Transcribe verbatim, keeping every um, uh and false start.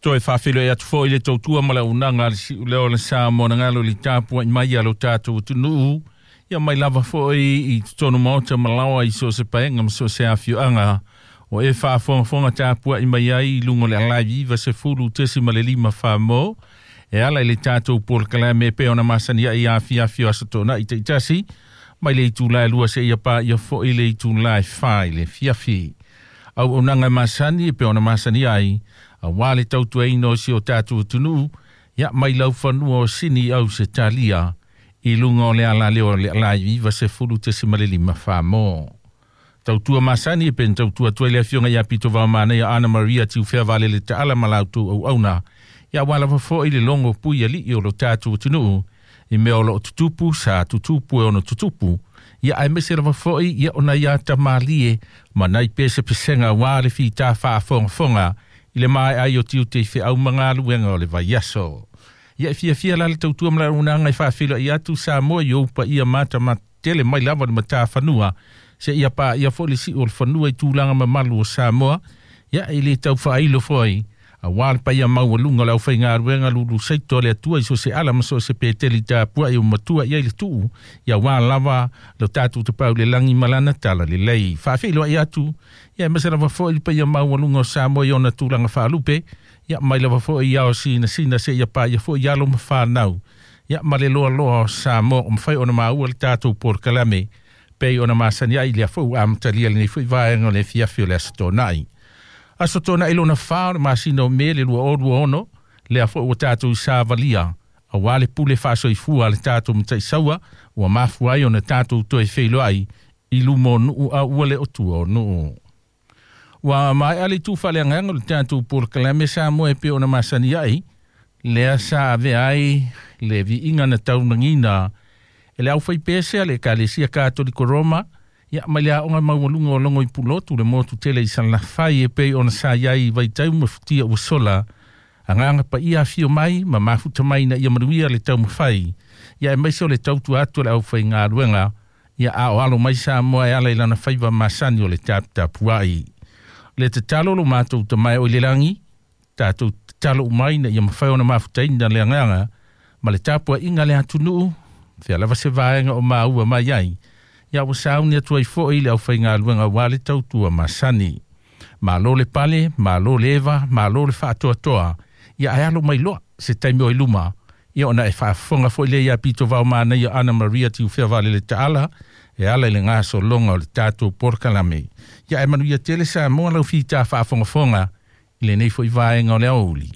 Toe faafeiloai atu foi le tautua ma le auaunaga a le si'ulea o le Samoa na galo i le tapua'i mai a lo tatou atunuu ia mai lava foi i totonu maota ma laoa i so o se paega ma so o se afioaga o e faafogafoga tapua'i mai ai i luga o le alae iva sefulu tesi ma le lima famo e ala i le tatou polokalame e pei ona masani ai afiafi o aso tona'i ta'itasi mai le itulā e lua seia paia fo'i le itulā e fā i le afiafi. Auaunaga masani e pei ona masani ai auā le tautuaina o si o tatou atunuu ia mai laufanua o Sini au se talia i luga o le alaleo o le alae iva sefulu tesi ma le lima famo. Tautua masani e pen tautua atu ai le afioga ia Pito Vaomanaia Ana Maria Tiufea Valele Taala ma lautou auauna ia ua lava fo'i le logo pui ali'i o lo tatou atunuu i mea o loo tutupu sa tutupu e ono tutupu ia aemaise lava fo'i ia ona ia tamalie ma nai pesepesega auā le fitā faafogafoga i le mae'a ai o tiute i fe'au ma galuega o le vaiaso. Ia e fiafia la le tautua ma le auaunaga e faafeiloai atu Samoa i ou paia matamatele mai lava le matafanua seia paia foi le si'u o le fanua i tulaga mamalu o Samoa ia e lē tau faailo foi auā le paia maualuga o le aufaigaluega lulu saito a le Atua i so se ala ma so o se peteli tapua'i ua matua i ai le tu'u ia auā lava lo tatou tapaau i le lagi ma lana tala lelei. Faafeiloai atu ia aemaise lava foi le paia maualuga o Samoa i ona tulaga faalupe ia mai lava foi i ao sinasina seia paia foi alo ma fanau ia ma le loaloa o Samoa o mafai ona maua le tatou polokalame pei ona masani ai lea foi ua amatalia lenei foi vaega o le afiafi o le Aso Toonai. Aso Toonai lona fa o le masina o Me le lua o lua ono, lea foi ua tatou savalia auā le pule faasoifua a le tatou Mataisaua ua mafua ai ona tatou toe feiloai i luma o nuu a ua le o tua o nuu. Ua mae'a le itu faaleagaga o le tatou polokalame Samoa e pei ona masani ai, lea sa avea ai le viiga na taunagiina e le aufaipese a le Ekalesia Katoliko Roma ia mai le aoga maualuga o Logo i Pulotu le motu tele i Salafai e pei ona sa i ai i vaitau ma futia ua sola. Agaga Paia afio mai ma mafuta mai ina ia manuia le taumafai ia aemaise o le tautua atu a le aufaigaluega ia a o alo mai Samoa e ala i lana faiva masani o le taputapua'i. Le tatalo lo matou Tama e o i le lagi, tatou tatalo uma ai ina ia mafai ona mafutaina le agaga ma le tapua'iga a le atunuu fea lava se vaega o maua mai ai ia ua sauni atu ai fo'i le aufaigaluega auā le tautua masani. Malo le pale, malo le eva, malo le faatoatoa ia ae alo mai loa se taimi o i luma ia ona e faafofoga foi lea iā Pito Vaomanaia Ana Maria Tiufea Valele Taala e ala i le gasologa o le tatou polokalame. Ia ae manuia tele Samoa lau fitā faafogafoga i lenei foi vaega o le aoauli.